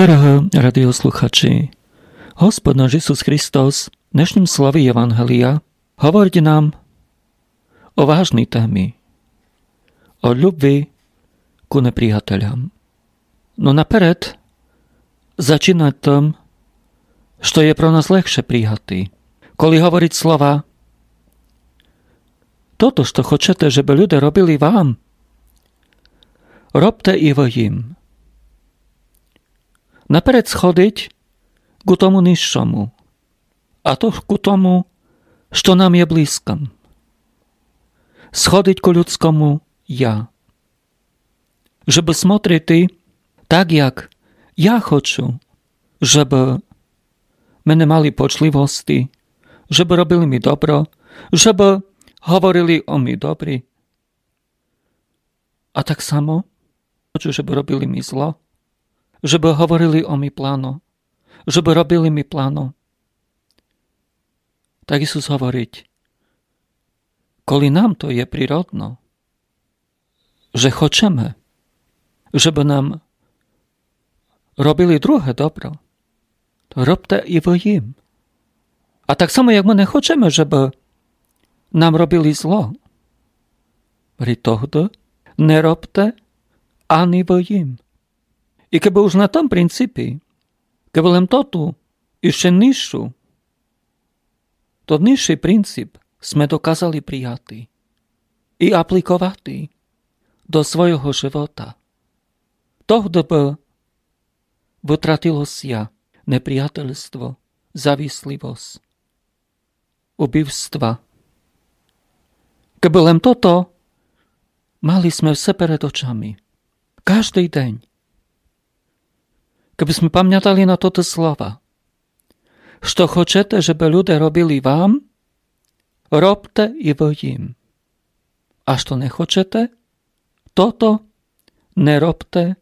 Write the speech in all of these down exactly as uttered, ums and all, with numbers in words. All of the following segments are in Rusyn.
Дорогы радіослухачі, Господь наш Ісус Христос в днешнім слові Євангелія говорить нам о важній темі, о любви ку неприятелям. Но наперед зачинать тым, што є про нас легше прияти, коли говорить слова: тото, што хочете, жебы люде робили вам, робте і вы їм. Наперед сходить ку тому низшому, а то ку тому, што нам є близкым. Сходить ку людскому я. Жебы смотрити так, як я хочу, жебы мене мали почливости, жебы робили ми добро, жебы говорили о ми добрі. А так само хочу, жебы робили ми зло, жебы говорили о ми плано, жебы робили ми плано. Так Ісус говорить, коли нам то є природно, же хочеме, жебы нам робили друге добро, то робте і вы їм. А так само, як мы не хочеме, жебы нам робили зло, говорить, тогды не робте ани вы їм. І кебы уж на тым принципі, кебы лем тоту іщи низшу, тот низшый принцип сме доказали прияти і апликовати до свойого живота, тогды бы вытратило ся неприятельство, зависливость, убивства. Кебы лем тото мали сме все перед очами, каждый день, кебы сме памятали на тоты слова: што хочете, жебы люде робили вам, робте і вы їм. А што не хочете, тото не робте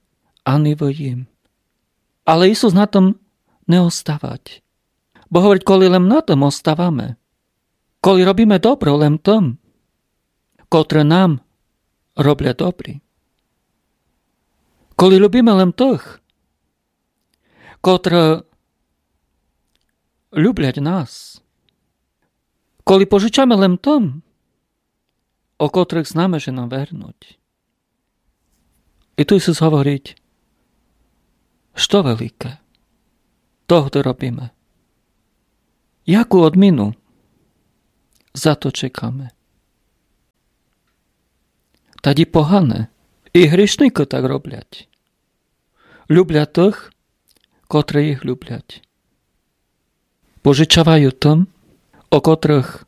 ани вы їм. Але Ісус на тым не оставать. Бо говорить, коли лем на тым оставаме, коли робиме добро лем тым, котры нам роблять добрі, коли любиме лем тых, котры люблять нас, коли пожичаме лем тым, о котрых знаме, же нам вернуть. І ту Ісус говорить, што велике, тогды робиме. Яку одміну за то чекаме? Тады погане, і грішникы так роблять. Люблять тых, котры їх люблять. Пожичавають тым, о котрых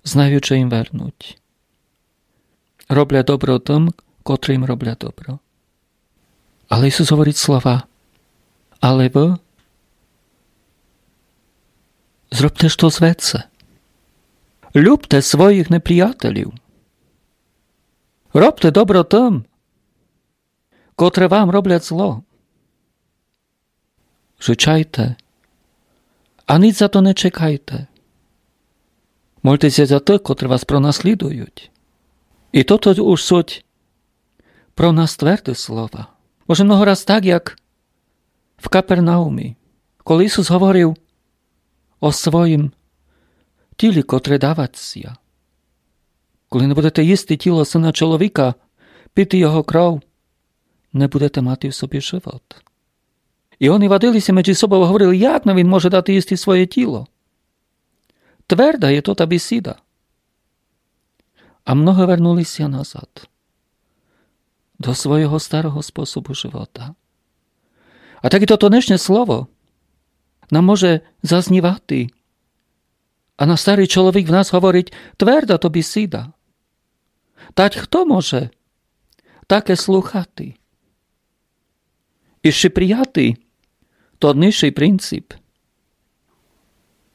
знають, же їм вернуть. Роблять добро тым, котры їм роблять добро. Але Ісус говорить слова: але вы зробте штось веце. Любте своїх неприятелів. Робте добро тым, котры вам роблять зло. Жичайте, а ніч за то не чекайте. Мольте ся за тых, котры вас пронаслідують. І тото уж суть про нас тверды слова. Може, много раз так, як в Капернаумі, коли Ісус говорив о своїм тілі, котре давать ся. Коли не будете їсти тіло Сына чоловіка, пити його кров, не будете мати в собі живот. І они вадили ся меджі собов, говорили: як нам він може дати їсти своє тіло? Тверда є тота бісіда. А много вернули ся назад до свойого старого способу живота. А так і тото днешнє слово нам може зазнівати. А наш старый чоловік в нас говорить: тверда то бісіда. Тать хто може таке слухати? І ще прияти тот низшый принцип.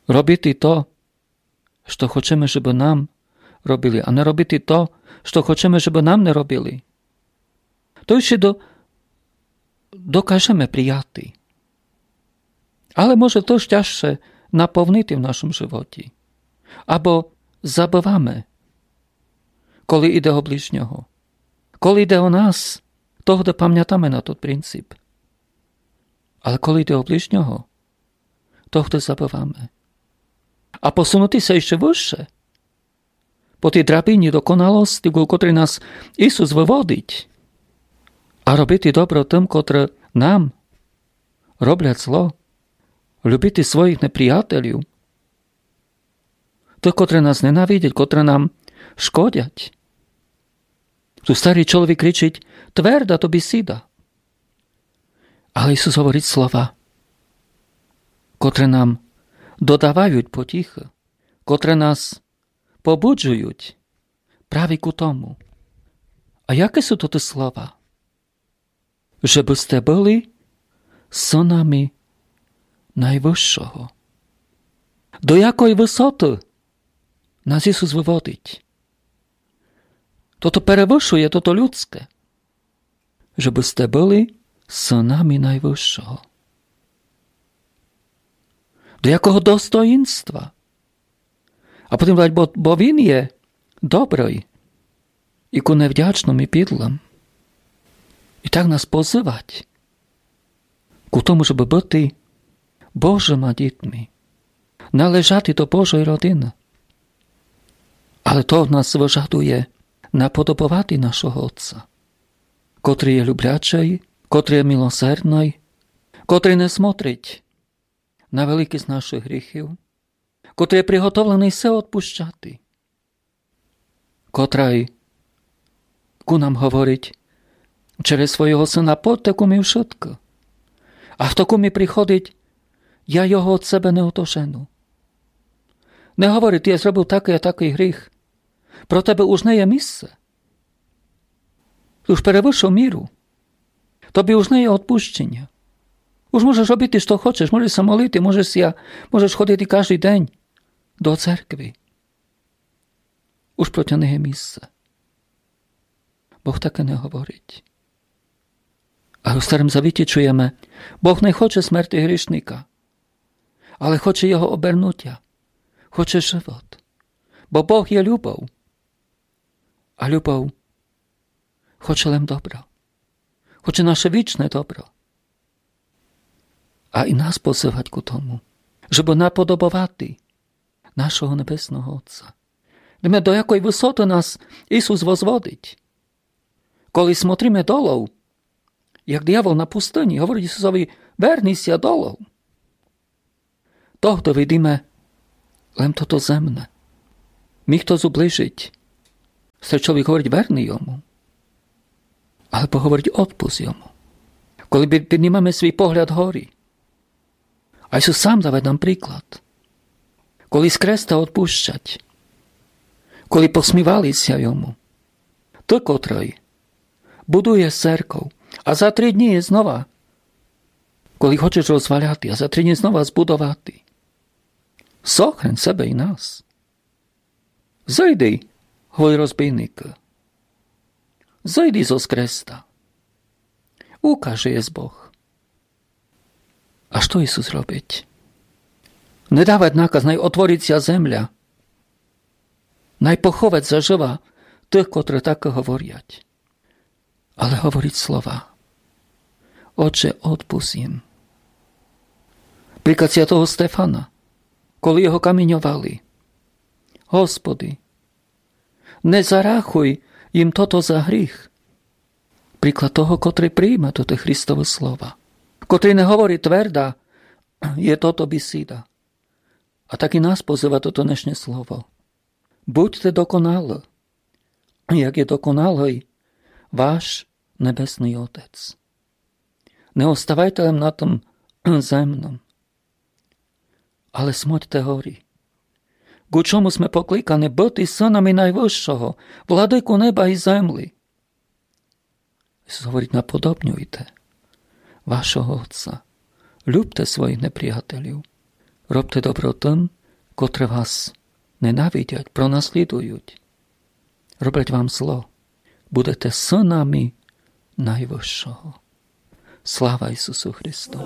Робити то, што хочеме, жебы нам робили, а не робити то, што хочеме, жебы нам не робили. То ще до-, докажеме прияти. Але може то тяжше наповнити в нашому животі. Або забываме, коли іде о ближнього. Коли іде о нас, тогды памятаме на тот принцип. Але коли йде о ближнього, то хтось забываме. А посунути ся іщи выше, по тій драбині доконалости, ку котрій нас Ісус выводить, а робити добро тым, котры нам роблять зло, любити своїх неприятелів, тых, котры нас ненавидять, котры нам шкодять. Ту старый чоловік кричить: «Тверда то бісіда». Але Ісус говорить слова, котры нам додавають потіхы, котры нас побуджують праві ку тому. А якы суть то слова? Жебы сте были сынами Найвышшого. До якой высоты нас Ісус выводить? Тото перевышує тото людське. Жебы сте были сынами Найвышшого. До якого достоїнства? А потім говорить, бо, бо він є добрый і ку невдячным і підлым. І так нас позывать ку тому, жебы быти Божыма дітми, належати до Божой родины. Але то од нас выжадує наподобовати нашого Отця, котрый є люблячый, котрый є милосердный, котрый не смотрить на великість нашых гріхів, котрый є приготовленый все одпущати, котрый ку нам говорить через свого Сына: «Подте ку мі вшытко. А хто ку мі приходить, я його од себе не отожену». Не говорить: «Я зробив такый а такый гріх. Про тебе уж не є місце. Ты уж перевышив міру. Тобі уж не є одпущеня. Уж можеш робити, што хочеш, можеш ся молити, можеш ся, можеш ходити каждый день до церкви. Уж про тя не є місце». Бог таке не говорить. А у Старым Завіті чуєме: Бог не хоче смерти грішника, але хоче його обернутя, хоче живот. Бо Бог є любов. А любов хоче лем добро. Хоче наше вічне добро. А і нас позывать ку тому, жебы наподобовати нашого Небесного Отця. Видиме, до якой высоты нас Ісус возводить. Коли смотриме долов, як диявол на пустыні, говорить Ісусови: «Верни ся долов». Тогды видиме лем тото земне. Мі хтось уближить. Се чоловік говорить: «Верни йому». Або говорить: «Одпусти йому». Коли під-, піднімаме свій погляд горі, а Ісус сам давать нам приклад. Коли з креста одпущать, коли посмівали ся йому, ты, котрый будуєш церков, а за три дні знова, коли хочеш розваляти, а за три дні знова збудовати, сохрань себе і нас. Зойди, говорить розбійник. Зойди зоз креста. Укаже єс Бог. А што Ісус робить? Не давать наказ, най отворить ся земля. Най поховать зажива тых, котры так говорять. Але говорить слова: «Отче, одпусти їм». Приклад святого Стефана, коли його каміньовали: «Господи, не зарахуй їм тото за гріх». Приклад того, котрый прийме тото Христово слова, котрый не говорить: «Тверда є тото бісіда». А так і нас позыва тото днешнє слово: «Будьте доконалы, як є доконалый ваш Небесный Отець». Не оставайте лем на тым земном, але смотьте горі. Ку чому сме покликані? Быти сынами Найвышшого, владыку неба і землі. Ісус говорить: «Наподобнюйте вашого Отця. Любте своїх неприятелів. Робте добро тым, котры вас ненавидять, пронаслідують, роблять вам зло. Будете сынами Найвышшого». Слава Ісусу Христу!